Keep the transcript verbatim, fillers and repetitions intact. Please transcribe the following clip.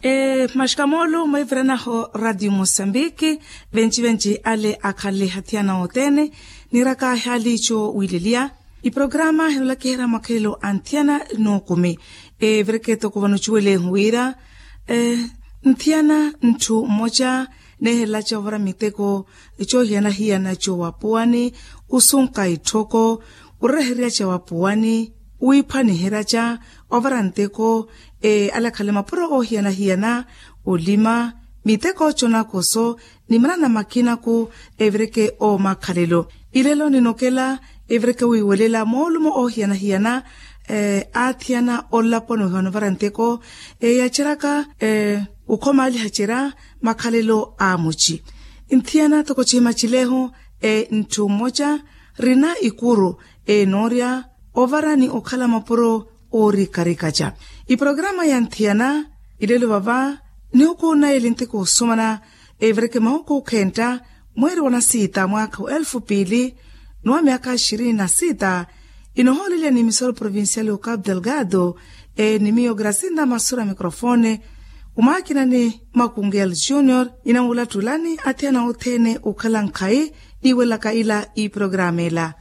Maxikamoolo mweviranaho radio mosambiki, venci-venci ale akhanle hathiyana othene. Nirakaahi aliico wiileliya, iprograma hinoolakiherya makhalelo a nthiyana n'ukumi. Evireke toko vano cuwelehu wira nthiyana ntthu mmoca neehelelaca ovara miteko coohiyana-hiyana cowapuwani, osunka itthoko, orereheryaca wapuwani, wiiphwaniheryaca, ovara nteko, alakhale mapuro oohiyana-hiyana, olima, miteko conakoso, ni manana makinaku. Evireke omakhalelo, ilelo ninokela evireke wiiwelela moolumo oohiyana-hiyana, aathiyana olaponi ohiwana ovara nteko, eyaceryaka okhomaalihacerya makhalelo a muci. Nthiyana toko cihimacelehu, ntthu mmoca rina ikuru enoorya ovara ni okhala mapuro oorikarikaca. Iprograma ya nthiyana ilelo vava nihuku naye lintiko osumana, evireke mahuku khentta mweeri wa nasiita mwaakha wa elfu piili ni wa myaakha ishirini na siita. Inohooleliya ni misolo provincial o capu delgado, ni miyo grasinda masura mikrofone, omwakinani makungel junior. Inamulatulani athiyana othene okhala nkhayi niiwelaka ila iprograma ela.